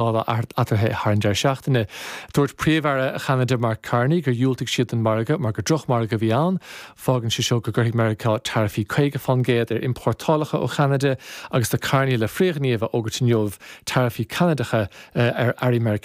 Eatarthu thar an deireadh seachtaine. Dúirt Príomh-Aire Cheanada Mark Carney gur dhiúltaigh siad don mhargadh mar gur drochmhargadh a bhí ann. Fágann sé seo go gcuirfidh Meiriceá taraifí 50% ar iompórtálacha ó Cheanada agus tá Carney le frithghníomh a fhógairt inniu, taraifí Ceanadacha ar earraí Meiriceánacha.